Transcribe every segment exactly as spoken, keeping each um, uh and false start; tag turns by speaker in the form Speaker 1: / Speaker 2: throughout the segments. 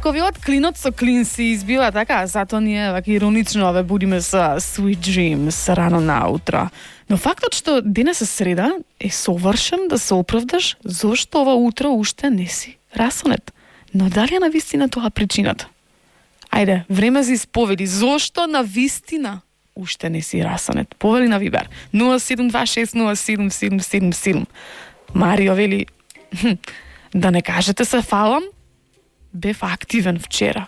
Speaker 1: раковиот клинот со клин се избива, така, затоа ние вака иронично ве будиме со sweet dreams рано наутро. Но фактот што денес е среда е совршен да се оправдаш зошто ова утро уште не си расонет. Но дали е на вистина тоа причината? Ајде, време за исповеди. Зошто на вистина уште не си расонет? Повели на Вибер нула седум два шест нула седум седум седум седум. Марио вели, да не кажете се фалам, бев активен вчера.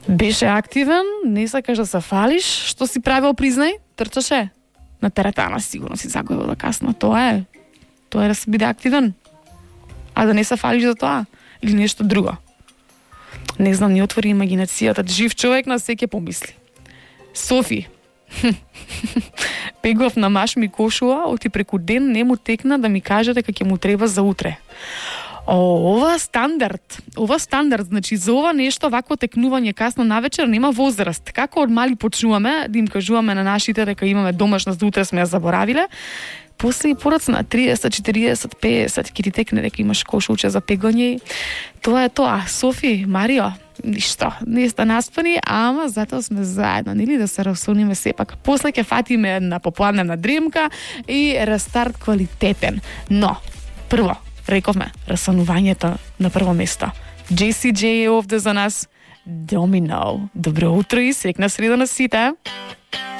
Speaker 1: Беше активен, не сакаш да се фалиш, што си правил, признај, трчаше. На теретана сигурно си загубил да касно. Тоа е. Тоа е да се биде активен. А да не се фалиш за тоа. Или нешто друго. Не знам, ни отвори имагинацијата. Жив човек на секе помисли. Софи. Пегов на маш ми кошува, оти преку ден не му текна да ми каже дека ќе му треба за утре. О, ова стандард. Ова стандард, значи за ова нешто вакво текнување касно навечер нема возраст. Како од мали почнуваме да им кажуваме на нашите дека имаме домашност, да утре сме ја заборавиле, после и порац на триесет, четириесет, песет ќе ти текне дека имаш кошулче за пегање. Тоа е тоа. Софи, Марио, ништо, не сте наспани, ама затоа сме заедно, нели, да се расониме сепак. После ќе фатиме една попладневна дремка и рестарт квалитетен. Но, прво, рековме, расонувањето на прво место. Джей Си Джей е овде за нас. Домино. Добро утро и среќна среда на сите.